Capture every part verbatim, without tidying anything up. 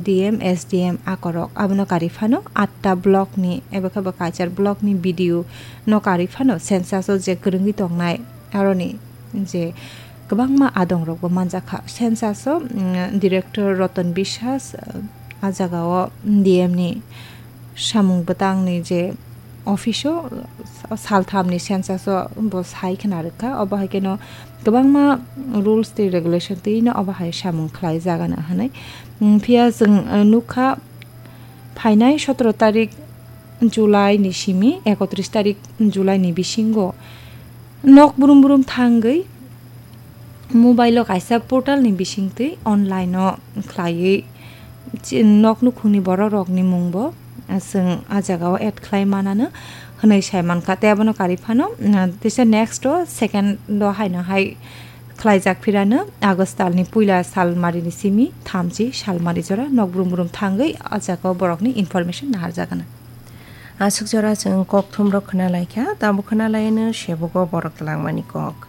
T M, S D M akorok. Abono karwi phano atta block ni eba khe bo Kaichar block ni B D O no karwi phano census o je kwrwngwi tongnai aroni je kwbangma adongrokbo manjakha. Census o, mm, director Ratan Biswas, uh, a jagao D M ni samung bwtangni je office o, uh, salthamni census o bo sai khna rwkha. Obo hai kheno kwbangma rules tei regulation twi no obo hai samung khlai jagana hwnwi. Mm, phiya chwng, uh, nukha phainai sotoro tarik July ni simi ekotris tarik July ni bisingo nok brum brum thangwi mobile o kaisa portal ni bisingtwi online o khlaiwi chi-, nok nukhungni borok rokni mungbo chwng a jagao add khlai manano hwnwi sai mankha. Tei abono karwi phano, mm, teisa next o second o haino hai khlaijak phirano August talni puila salmarini simi thamchi salmari jora nok brum brum thangwi a jagao borokni information naharjagana. Aswk jora chwng kokthumrok khna laikha, tabuk khna laiano sebugo borok twlangmani kok.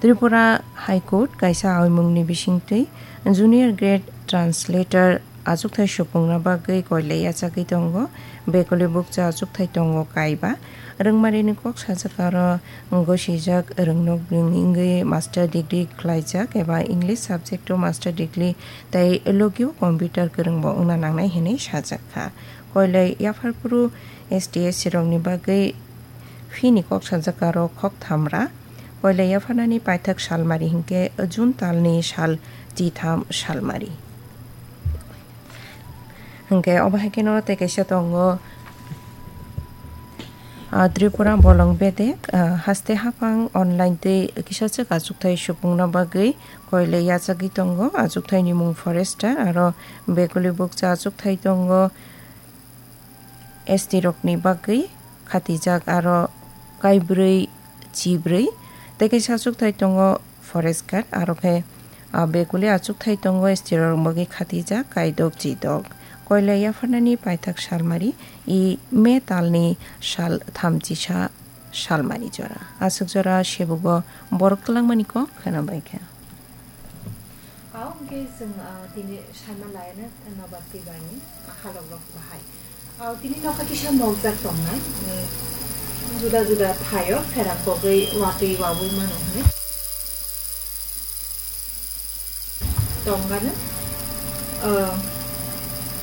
Tripura High Court kaisa aimungni bisingtwi junior grade translator achukthai supungna bagwi koilai yachagwi tongo. Bekuli bukcha achukthai tongo kaiba. Rwngmarini kok sajak aro gosijak rwngnok wngwi master degree khlaijak eba English subject o master degree tei logio computer kwrwngbo wngna nangnai hwnwi sajak kha. Koilai yapharphuru S T S C rokni bagwi fee ni kok sajak aro khok thamra. Koilai yapharnani paithak salmari hinkhe June talni sal chitham salmari. Hinkhe obo hai kheno tei kaisa tongo, ah, Tripura bolong bedek, ah, haste haphang online tei kisa swk achukthai supungna bagwi koilai yachagwi tongo. Achukthaini mung Forester aro bekuli bukcha achukthai tongo. S T rokni bagwi khatijak aro kaibrwi chibrwi tei kaisa achukthai tongo Forest Guard aro khe, ah, bekuli achukthai tongo S T rok bagwi khatijak kaidok chidok. Koilai yapharnani paithak salmari i May talni sal thamchisa salmari jora. Aswk jora sebugo borok twlangmani kok khwna bai kha. Ao hwnkhe chwng, ah, tini saima laina Nobar Tibrani, ah, halokrok bahai. Ao tini nokha kisa mokjak tongnai, mm, juda juda thaio pherang kogwi watwi wawi mano hwnwi. Tongmano, ah,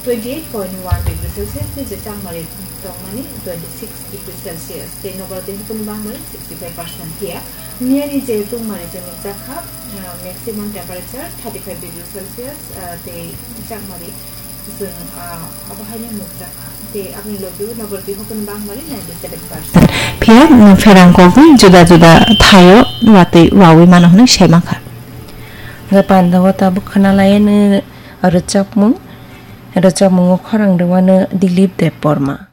twenty eight point one degree Celsius ni je changmari tongmani twenty six degree Celsius, tei Nobar Tibrani bangmani sixty five percent phiya. Miyani je tungmari chwng nukjakha, ah, maximum temperature thirty five degree Celsius, ah, tei chakmari chwng, ah, abo haino nukjakha. Tei aboni logi Nobar Tibrani bangmari ninety seven percent. Phiya, mm, pherang kogwi juda juda thaio watwi wawi mano hwnwi sai mankha. Hwnkhe pandao tabuk khwna laiano rwchapmung, rwchapmungo khorang rwmano Dilip Debbarma.